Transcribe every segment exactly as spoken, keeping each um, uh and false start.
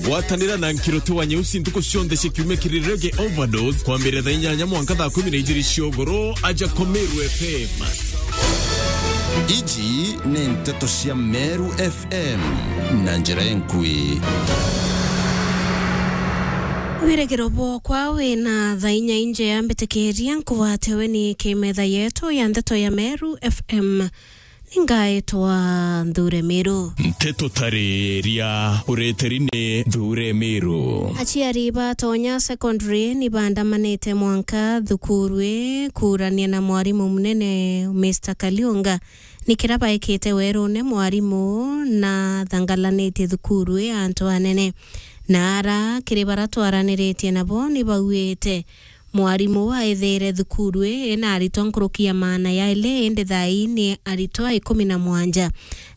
Gwatanira na Nkiruti wa Nyeusi ntuku cionthe cia kiumia kiri Reggae Overdose, kwambiria thaa inyanya mwanka thaa kumi na ijiri cia ugoro, aja kwa Meru F M. Iji ni nteto cia Meru F M na njira enkui. Wirigiro bwokwa wina thaa inya injea, mbitikiria nkugwate weni kimetha yetu ya nteto ya Meru F M. Ningaitwa Nthure Miru. Nteto tariria ureteri ni Nthure Miru. Aciari ba Tonya Secondary ni bandamanite mwanka thukuru ii kuurania na mwarimu munene, Mister Kaliunga, ni kira baikite werune mwarimu na thangalanitie thukuru ii antu anene. Na ara kiri bara twaraniritie nabo ni bauite mwarimu uu aithiire thukuru ii ena aritwa nkuruki ya maana yaili, indi thaa ii ni aritwa ikumi na mwanja.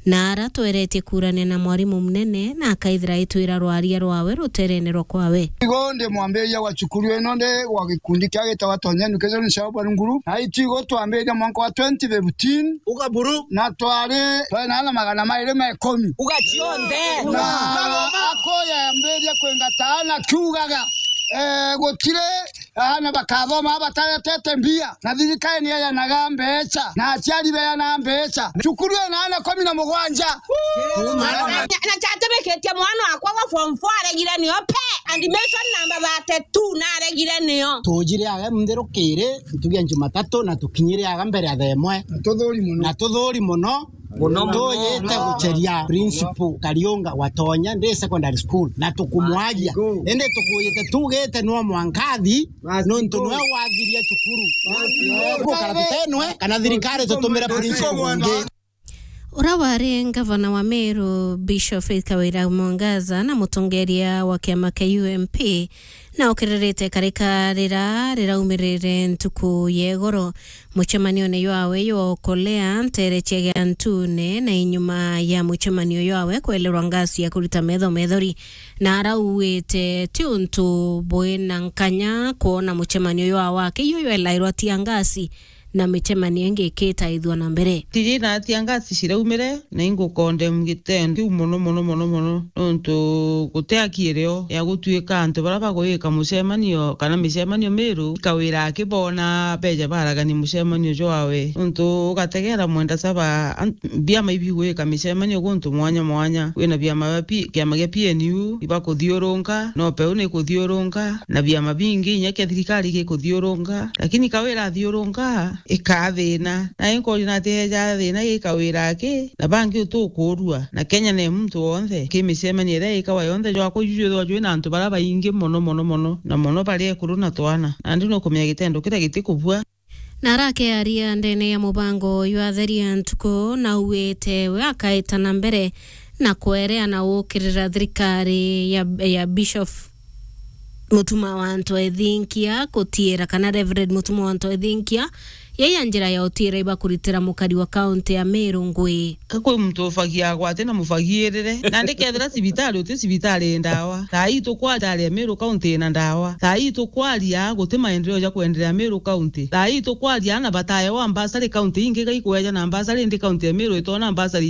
Na ara tweretie kuurania na mwarimu munene, na akaithira aitwira rwaria rwawe ruterene rwa kwawe. Igo ndi mwambiria wa cukuru ino, ndi wa gikundi kia gitagwa Tonya Education Sharp Nguru. Na itu igo twambiria mwanka wa twenty fifteen. Ugaburu. Na twari, twari na ana magana mairi ma ikumi. Uga cionthe. Na akoya yambiria kwingata ana kiugaga, eh, gutiri Aana bakathoma bataretete mbia, na thirikari ni yayanaga mbeca, na aciari beyanaga mbeca. Cukuru ina aana kumi na mugwanja. Na, na, na chatimikitie mwana wakwa wa form four aregire nio pe, admission number thirty-two na aregire nio. Tujire aga mutherukiri, ntuge Jumatatu, na tukinyire aga mbere ya thaa imwe. Na tuthuri muno. Na tuthuri muno. Muno muno. Tuyite guceria principal Kariunga wa Tonya ndi secondary school, na tukumwaria. Indi tukuyite tugite nwa mwankathi, nontu nwe wathiria cukuru. Gukara tutenwe, kana thirikari tutumire principal ungi. Ura wari ngavana wa Meru, Bishop Faith Kawira Mwangaza, na mutongeria wa kiama kia U M P, na ukiririte karika rira riraumirire ntuku ya igoro. Mucemanione jwawe jwa ukolea ntere cia Giantune, na inyuma ya mucemanio jwawe kwelerwa ngasi ya kurita metho methori, na arauite ti untu bwina nkanya kwona mucemanio jwawe wake jwelairwa tia ngasi, na micemanio ingi ikitaithua na mbere. Tiji na tia ngasi ciraumire, na ingukondem gitendo kiu mono, mono, mono, mono, nontu guti aki irio ya gutuika antu baria bagwika mucemanio kana micemanio Meru, Kawira akibona beja baragania mucemanio jwawe. Nontu ugategera mwenda saba, an-, biama ibigwika micemanio guntu mwanya mwanya. Kwina biama bia P-, kiama gia P N U ibakuthiurunka, no peu nikuthiurunka, na biama bingi inya kia thirikari gikuthiurunka. Lakini Kawira athiurunka, ikathina. Na inkoria nati eja thina gi Kawira aki, na bangi utukurua. Na Kenya ni muntu wonthe. Ki micemanio iria ikawa yonthe jwakwa juju jwithwa jwina antu baria baingi mono, mono, mono, na mono bari ekuru na twana. Nandi nukumenya gitendo kiria gitikubua. Na arakearia ndene ya mubango jwa Theria Ntuku, na auite we akaita na mbere na kwerea na gukirira thirikari ya, ya Bishop Mutuma wa Antu Ethinkia kutiira, kana Reverend Mutuma wa Antu Ethinkia, yaiya njira ya utiira ibakuritira mukari wa kaunti ya Meru ngui. Ka kwi muntu ufagia agwate na mufagirire. Nandi kethira cibitari uti cibitari ndawa. Thaa ii tukwaria Meru kaunti ina ndawa. Thaa ii tukwaria guti maendeleo ja kwendelea Meru kaunti. Thaa ii tukwaria ana bataewa mbasari kaunti ingi gaikweja na mbasari indi kaunti ya Meru itona mbasari